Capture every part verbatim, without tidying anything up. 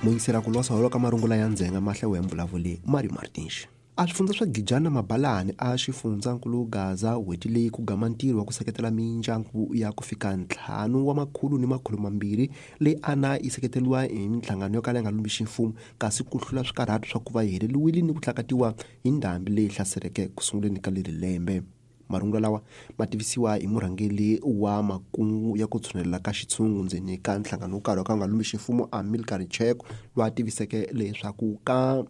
Muyingisela ku losa holo ka marungula ya ndzhenga mahlewo ya mvulavuli Mario Martins. A swifundza swa Gijana Mabalani a xifundzankulu Gaza n'hweti leyi ku gama ntirho wa ku seketela mindyangu ya ku fika ntlhanu wa makhulu ni makhulu mambirhi leyi ana yi seketeriwa hi minhlangano yo kala yi nga lumbi mfumo kasi ku hlula swikarhato swa ku va yi heleriwile ni ku hlakatiwa hi ndhambi leyi hlaseleke ku sunguleni ka leri lembe. Marungula lawa ma tivisiwa hi murhangeri wa makungu ya ku tshunelela ka xitshungu ndzeni ka nhlangano wo karhi wa ka nga lumbi ximfumo Amilcar Cheko loyi a tiviseke leswaku ka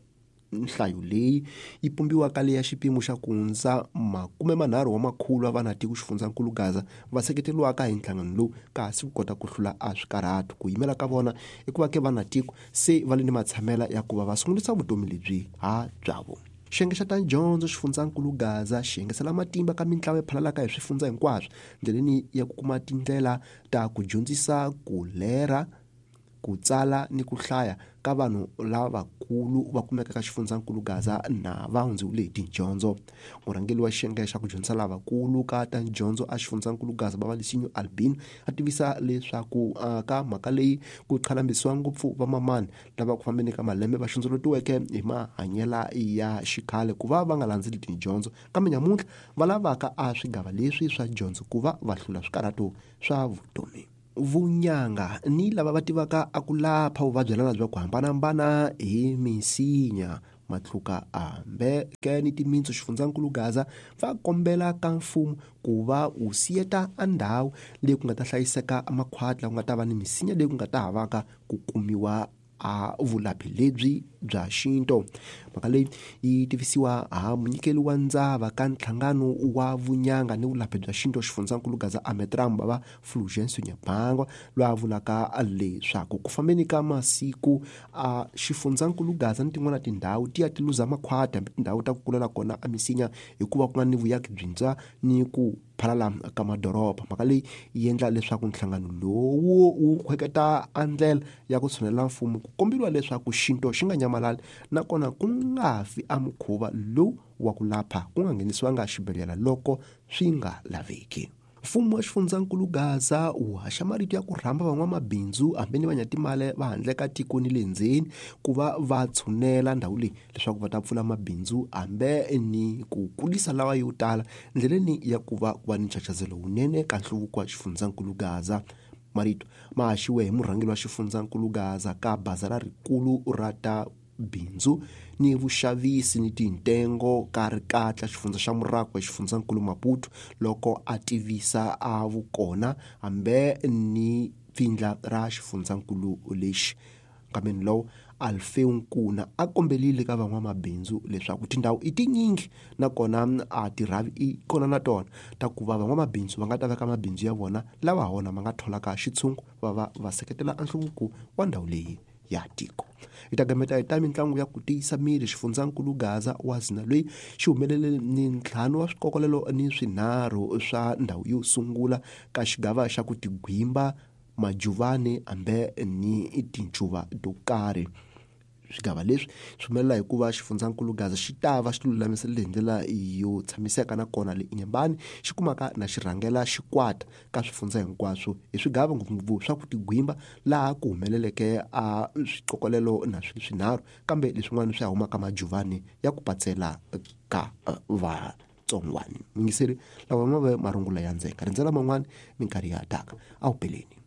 nhlayo leyi yi pumbiwa ka leya xipimo xa ku hundza makume manharhu wa makhulu wa vanatiko xifundzankulu Gaza va seketeriwaka hi nhlangano lowu kasi ku kota ku hlula a swikarhato ku yimela ka vona i ku va ke vanatiko se va le ni matshamela ya ku va va sungulisa vutomi lebyi ha byavo. Xiyenge xa ta dyondzo xifundzankulu Gaza xi yengesela matimba ka mintlawa yi phalalaka hi swifundza hinkwaswo ndleleni ya ku kuma tindlela ta ku dyondzisa ku lera ku tsala ni ku hlaya ka vanhu lavakulu va kumeka ka xifundzankulu Gaza na va hundziwile hi tidyondzo. Murhangeri wa xiyenge xa ku dyondzisa lavakulu ka ta dyondzo a xifundzankulu Gaza Babalisinyo Albino a tivisa leswaku ka mhaka leyi ku qhalambisiwa ngopfu vamamani lava ku fambeni ka malembe va xondzolotiweke hi mahanyela ya xikhale ku va va nga landzeli tidyondzo kambe nyamuntlha va lavaka a swigava leswi swa dyondzo ku va va hlula swikarhato swa vutomi. Vunyanga ni lava va tivaka a ku lapha vuvabyi lava bya ku hambanahambana hi misinya matluka hambe ke ni timintsu xifundzankulu Gaza va kombela ka mfumo ku va wu siyeta a ndhawu leyi ku nga ta hlayiseka makhwati la ku nga ta va ni misinya leyi ku nga ta havaka ku kumiwa a vulaphi lebyi bya xinto. Mhaka leyi yi tivisiwa ha munyikeli wa ndzava ka nhlangano wa vunyanga ni vulaphi bya xinto xifundzankulu Gaza Ametram bava Fulgence Nyabangwa loyi a vulaka leswaku ku fambeni ka masiku a xifundzankulu Gaza ni tin'wana tindhawu ti ya ti luza makhwati hambi tindhawu ta ku kulela kona a misinya hikuva ku nga ni vuyaki byintshwa ni ku phalala ka madoroba. Mhaka leyi yi endla leswaku nhlangano lowu wu khweketa a ndlela ya ku tshunela mfumo ku komberiwa leswaku xinto xi nga nyamalali nakona ku nga fi a mukhuva lowu wa ku lapha ku nga nghenisiwanga xibedhlele loko swi nga laveki. Mfumo wa xifundzankulu Gaza wu haxa marito ya ku rhamba van'wamabindzu hambi ni vanyatimali va handle ka tiko ni le ndzeni ku va va tshunela ndhawu leyi leswaku va ta pfula mabindzu hambi ni ku kulisa lawa yo tala ndleleni ya ku va ku va ni nchachazelo wunene ka nhluvuko wa xifundzankulu Gaza. Marito ma haxiwe hi murhangeri wa xifundzankulu Gaza ka bazara rikulu ra ta bindzu ni vuxavisi ni tintengo ka rikatla xifundza xa Murako xifundzankulu Maputo loko a tivisa a vukona hambi ni pfindla ra xifundzankulu lexi. Nkambeni lowu Alfeu Nkuna a kombelile ka van'wamabindzu leswaku tindhawu i tinyingi nakona a tirhavi i kona na tona ta ku va van'wamabindzu va nga ta veka mabindzu ya vona lawa ha wona ma nga tholaka xitshungu va va va seketela nhluvuko wa ndhawu leyi ya tiko. Hi ta gameta hi ta mitlangu ya ku tiyisa miri xifundzankulu Gaza wa zina loyi xi humelele ni ntlhanu wa swikokolelo ni swinharhu swa ndhawu yo sungula ka xigava xa ku tigwimba majuvani hambi ni tincuva to karhi. Swigava leswi swi humelela hikuva xifundzankulu Gaza xi ta va xi lulamiserile hi ndlela yo tshamiseka nakona le Inyambani xi kumaka na xirhangela xikwata ka swifundza hinkwaswo hi swigava ngopfungopfu swa ku tigwimba laha ku humeleleke a swiqokolelo na swilo swinharhu kambe leswin'wana swi humaka majuvani ya ku patsela ka vatsongwani. Muyingiseri lawa ma ve marungula ya ndzhenga rindzela man'wani minkarhi ya taka a wu peleni.